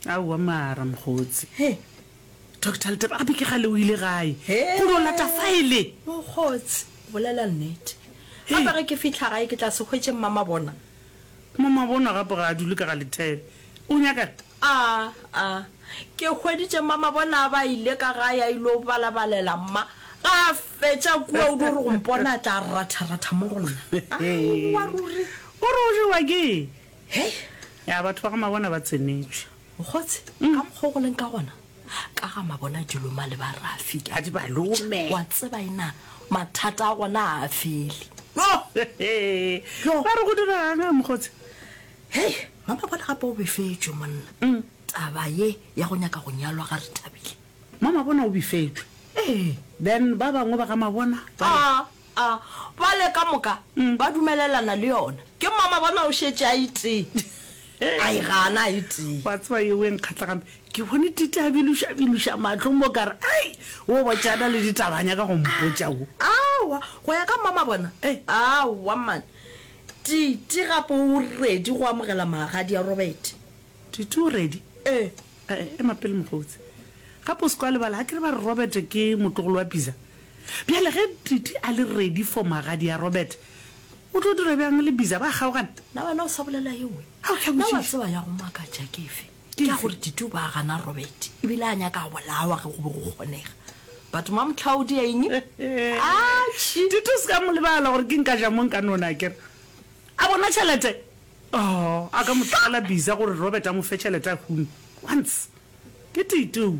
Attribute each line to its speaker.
Speaker 1: Aowa mara mokgotsi.
Speaker 2: He.
Speaker 1: Doctor Letaba gape ke gale o ile gae go no lata faele.
Speaker 2: Mokgotsi, bolela nnete. Gape ge ke fihla gae ke tla se hwetše Mmamabona.
Speaker 1: Mmamabona gape ga a dule ka ga Lethebe. O nyaka'ng?
Speaker 2: A, a. Ke hweditše Mmamabona a ba ile ka gae a ilo balabalela mma. Ga a fetša kua o dio re go mpona a tla ratharatha mo go nna. Aowa ruri.
Speaker 1: O re o jewa ke eng?
Speaker 2: Hei.
Speaker 1: Ya, batho ba ga Mabona ba tsenetšwe.
Speaker 2: Mokgotsi, ka mokgwa o go leng ka gona, ka ga Mabona di loma le ba Rafi, ke a
Speaker 1: Ga di ba lome.
Speaker 2: Wa tseba ena, mathata a gona ga a fele.
Speaker 1: Yo! Ba re go diregang, mokgotsi?
Speaker 2: Hei, Mamabona gape o befetšwe, monna. Taba ye ya go nyaka go nyalwa ga Rethabile.
Speaker 1: Mamabona o befetšwe?
Speaker 2: Ee.
Speaker 1: Then ba bangwe ba ga Mabona ba re.
Speaker 2: A, a, bale ka moka ba dumelelana le yona. Ke Mamabona o šetše a itee. A e gana a itee.
Speaker 1: Wa tseba yeo e nkgatla gampe. Ke bone Titi a biloša-biloša mahlo mo ka re, Ai, wo botšana le ditaba a nyaka go mpotša wo.
Speaker 2: Aowa, go ya ka Mamabona? Aowa, man. Titi gape o ready go amogela magadi a Robert.
Speaker 1: Titi o ready?
Speaker 2: Ee.
Speaker 1: Eh, ema pele mokgotsi. Gape o se ke wa lebala, ga ke re ba re Robert ke motlogolo wa Biza? Bjale ge Titi a le ready for magadi a Robert, o tlo dira bjang le Biza? Ba kgaogana?
Speaker 2: Na wena o sa bolela ye nngwe?
Speaker 1: Ao, ke a
Speaker 2: Na wa
Speaker 1: botšiša.
Speaker 2: tseba ya go makatša ke efe?
Speaker 1: Ke
Speaker 2: Ke ya
Speaker 1: efe?
Speaker 2: gore Titi o be a gana Robert, ebile a nyaka a bolawa ge go be go kgonega. But Mamtlhaodi a eng? Atšhi!
Speaker 1: Titi o se ka mo lebala gore ke nka ja mo nka nona, akere? A bona tšhelete? Oh, a ka mo tlogela Biza gore Robert a mo fe tšhelete a hume. Once. Ke Titi owe.